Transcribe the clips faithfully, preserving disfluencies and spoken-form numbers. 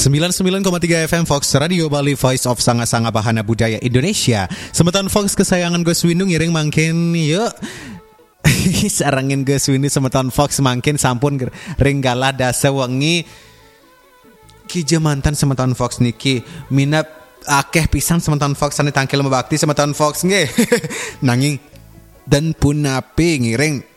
Sembilan sembilan koma tiga F M Fox Radio Bali, Voice of Sanga-Sanga Bahana Budaya Indonesia. Semeton Fox kesayangan Gus Windu ngiring mangkin yuk. Sarengin Gus Windu semeton Fox mangkin sampun ger- ring galah dasa wengi. Kija manten semeton Fox niki minab akeh pisan semeton Fox sane tangkil mabakti semeton Fox nggih. Nanging dan punapi ngiring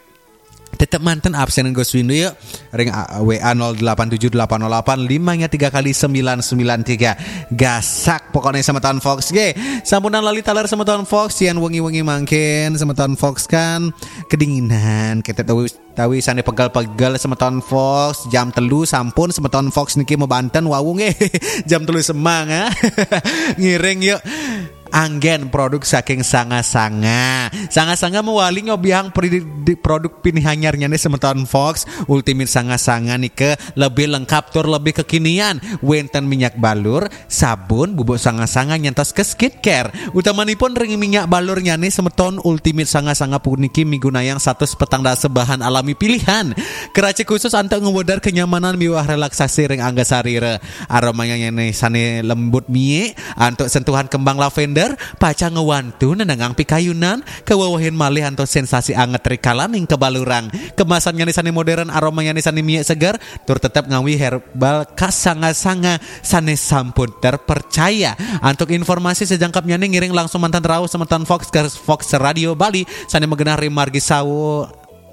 tetep manten absenan Gus Windu ya ring uh, W A nol delapan tujuh delapan nol delapan lima nya tiga kali sembilan sembilan tiga. Gasak pokoknya semeton Fox ge. Sampunan lali taler semeton Fox, yang wengi-wengi mangkin semeton Fox kan kedinginan, kita tahu tawi sane pegel-pegel semeton Fox. Jam telu sampun semeton Fox niki mebanten wau nggih. Jam telu semang ah. Ngiring yuk. Anggen produk saking Sanga-Sanga. Sanga-Sanga mewali ngobihang pri- di- produk pinih anyarnyane semeton Fox. Ultimate Sanga-Sanga nika lebih lengkap tur lebih kekinian. Wenten minyak balur, sabun, bubuk Sanga-Sanga nyantos ke skincare. Utamanipun ring minyak balurnyane semeton Ultimate Sanga-Sanga puniki migunayang satus petang dasa bahan alami pilihan. Keraci khusus antuk ngewedar kenyamanan miwah relaksasi ring angga sarira. Aromanya nyane sane lembut mie, antuk sentuhan kembang lavender, pacang ngewantu nenengang pikayunan, kewewehin malih antuk sensasi anget rikalaning kebalurang. Kemasannyane sane modern, aromanyane sane mie seger, tur tetep ngawi herbal khas Sanga-Sanga sane sampun terpercaya. Antuk informasi sejangkepnyane ngiring langsung mantan rauh semeton Fox ke Fox Radio Bali sane magenah ring Margi Sawo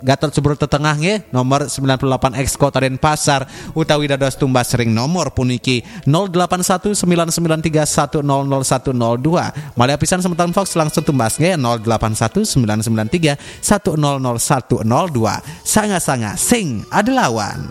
Gatot Subroto Tengah nggih, nomor sembilan puluh delapan X Kota Denpasar, utawi dados tumbas ring nomor puniki nol delapan satu sembilan sembilan tiga satu nol nol satu nol dua. Malih apisan semeton Fox langsung tumbas nggih nol delapan satu sembilan sembilan tiga satu nol nol satu nol dua. Sanga-Sanga sing ada lawan.